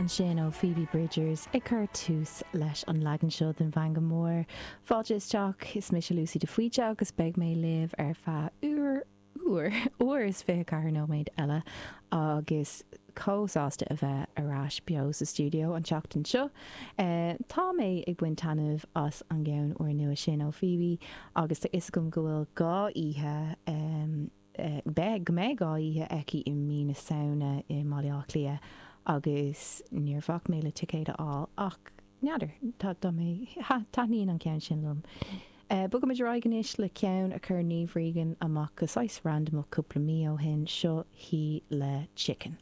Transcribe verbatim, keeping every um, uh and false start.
Ansin ó Phoebe Bridgers ag cur tús leis an leagan seo den Mheangadh Mór. Fáilte isteach is mise Lucy de Faoite agus beidh mé libh ar feadh uair uair uair is fiche ceathair nóiméad eile agus chomh sásta a bheith ar ais beo sa stiúideo an tseachtain seo. Uh, tá mé ag baint taitneamh as an gceann úrnua sin ó Phoebe agus tá fhios agam go bhfuil dhá oíche um, uh, beidh go mbeidh dhá oíche aici i mí na Samhna i mBaile Átha Cliath agus níor bhac mé le ticéad a fháil ach n'fheadar tá mé taitníonn an ceann sin liom. Uh, Bogaimid ar aghaidh anois le ceann a chuir Niamh Regan amach go saghas randamach cúpla mí ó shin seo hí le chicken.